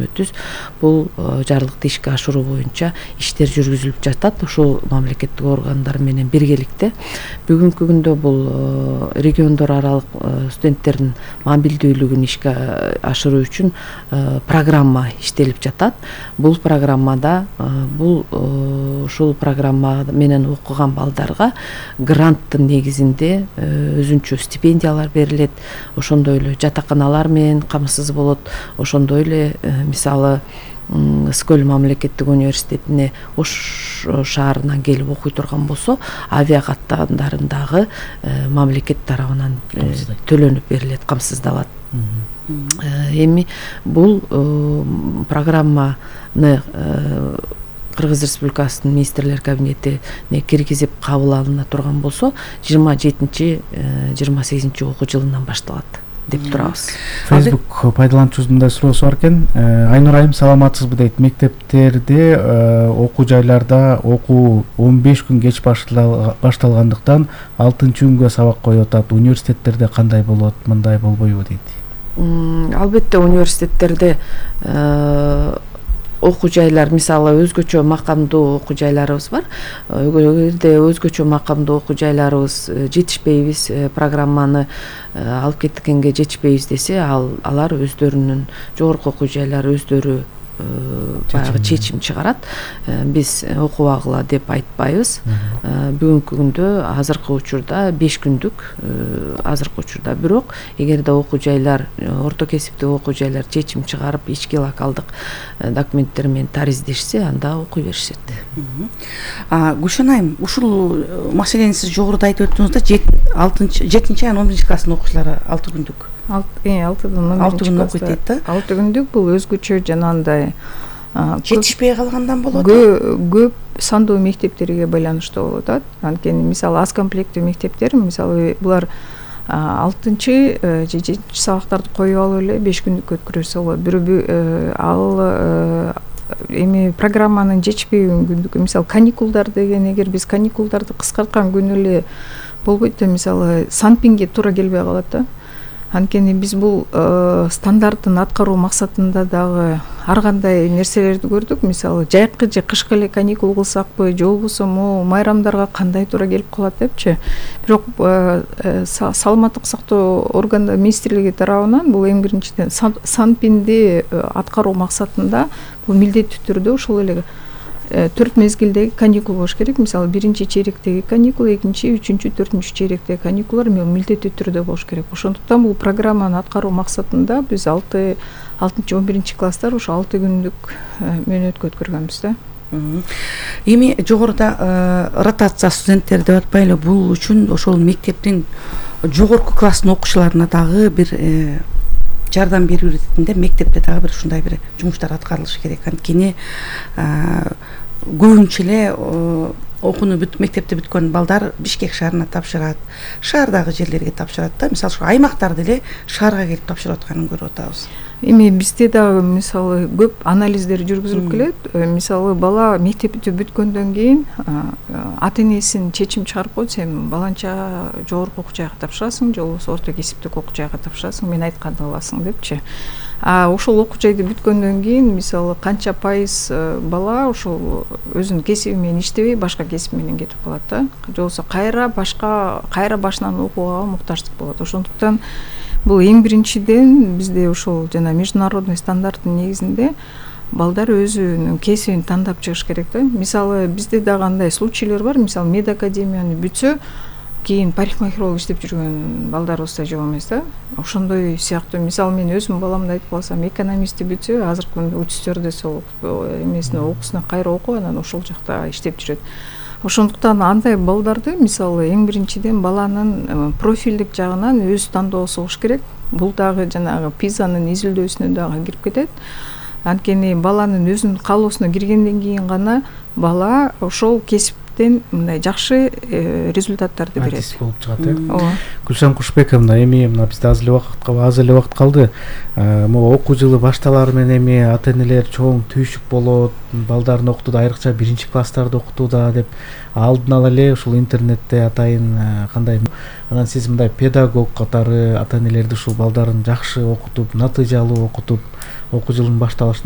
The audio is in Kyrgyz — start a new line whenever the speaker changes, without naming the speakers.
түзмө-түз бул жарлыкты ишке ашыруу боюнча иштер жүргүзүлүп жатат ушул мамлекеттик органдар менен биргеликте. Бүгүнкү күндө бул региондор аралык студенттердин мобилдүүлүгүн ишке ашыруу үчүн программа иштелип жатат. Бул программада ушул программа менен окуган балдарга гранттын негизинде өзүнчө стипендиялар берилет. Ошондой эле жатаканалар менен камсыз болот. Ошондой эле мисалы Скөл мамлекеттик университетине Ош шаарынан келип окуй турган болсо, авиа каттамдарындагы мамлекет тарабынан төлөнүп берилет, камсыздалат. Эми бул программаны Кыргыз Республикасынын министрлер кабинетине киргизип кабыл алына турган болсо, 27-28 окуу жылынан башталат деп турабыз.
Facebook пайдалануучубуздун мындай суроосу бар экен. Айнур айым, саламатсызбы дейт. Мектептерде, окуу жайларда окуу 15 күн кеч башталгандыктан 6-күнгө сабак коюп атат. Университеттерде кандай болот, мындай болбойбу дейт.
Албетте университеттерде окуу жайлар, мисалы өзгөчө макамдуу окуу жайларыбыз бар. Эгерде өзгөчө макамдуу окуу жайларыбыз жетишпейбиз, программаны алып кеткенге жетишпейбиз десе, алар өздөрүнүн жогорку окуу жайлары өздөрү баягы чечим чыгарат. Биз окубагыла деп айтпайбыз. Бүгүнкү күндө азыркы учурда 5 күндүк, бирок эгерде окуу жайлар, орто кесиптик окуу жайлар чечим чыгарып, ички локалдык документтер менен тариздешсе, анда окуй беришет.
Гүлшан айым, ушул маселени сиз жогоруда айтып өттүңүз да, 7-11 класстын окуучулары 6 күндүк.
6 күн
окуйт дейт да.
6 күндүк бул өзгөчө жанагындай
жетишпей калгандан болот.
Көп сандуу мектептерге байланыштуу болуп атат. Анткени мисалы аз комплектүү мектептер, мисалы булар 6-же же 7-чи сабактарды коюп алып эле 5 күндүк өткөрүшсө болот. Ал эми программанын жетишпей күндүк, мисалы каникулдар деген, эгер биз каникулдарды кыскарткан күнү эле болбойт да, мисалы санпинге туура келбей калат да. Анткени биз бул стандарттын аткаруу максатында дагы ар кандай нерселерди көрдүк. Мисалы жайкы же кышкы эле каникул кылсакпы, же болбосо майрамдарга кандай туура келип калат депчи. Бирок саламаттык сактоо органдары министрлиги тарабынан бул эң биринчиден санпинди аткаруу максатында бул милдеттүү түрдө ушул эле 4 мезгилдеги каникул болуш керек. Мисалы 1-чи чейректеги каникул, 2-чи, 3-чү, 4-чү чейректеги каникулдар милдеттүү түрдө болуш керек. Ошондуктан бул программаны аткаруу максатында биз 6-11 класстар ушу 6 күндүк мөөнөткө өткөргөнбүз да.
Эми жогоруда ротация студенттер деп атпайлы, бул үчүн ошол мектептин жогорку класстын окуучуларына дагы бир жардам берүү иретинде мектепте дагы бир ушундай бир жумуштар аткарылышы керек. Анткени көбүнчө эле мектепти бүткөн балдар Бишкек шаарына тапшырат, шаардагы жерлерге тапшырат да. Мисалы ушу аймактарды эле шаарга келип тапшырып атканын көрүп атабыз.
Эми бизде дагы мисалы көп анализдер жүргүзүлүп келет. Мисалы бала мектепти бүткөндөн кийин ата-энесин чечим чыгарып койт, сен баланча жогорку окуу жайга тапшырасың, же болбосо орто кесиптик окуу жайга тапшырасың, мен айтканды кыласың депчи. Ошол окуу жайды бүткөндөн кийин мисалы канча пайыз бала ошол өзүнүн кесиби менен иштебей башка кесип менен кетип калат да. Же болбосо кайра башынан окууга муктаждык болот. Ошондуктан бул эң биринчиден бизде ошол жана международный стандарттын негизинде балдар өзүнүн кесибин тандап чыгыш керек да. Мисалы бизде дагы андай случайлар бар. Мисалы медакадемияны бүтсө, кийин парикмахер болуп иштеп жүргөн балдарыбыз да жок эмес да. Ошондой сыяктуу, мисалы мен өзүм баламды айтып калсам, экономистти бүтсө, азыркы күндө учитель сол эмесине окуусуна кайра окуп, анан ошол жакта иштеп жүрөт. Ошондуктан андай балдарды мисалы эң биринчиден баланын профилдик жагынан өз тандоосу болуш керек. Бул дагы жанагы пизанын изилдөөсүнө дагы кирип кетет. Анткени баланын өзүнүн каалоосуна киргенден кийин гана бала ошол кесиптен мындай жакшы результаттарды берет.
Артист болуп чыгат, э? Гүлшан Кушбековна, эми мына бизде аз эле убакыт калды. Могу окуу жылы башталары менен эми ата-энелер чоң түйшүк болот, балдарын окутууда, айрыкча 1-чи класстарды окутууда деп алдын ала эле ушул интернетте атайын кандай. Анан сиз мындай педагог катары ата-энелерди ушул балдарын жакшы окутуп, натыйжалуу окутуп, окуу жылынын башталышына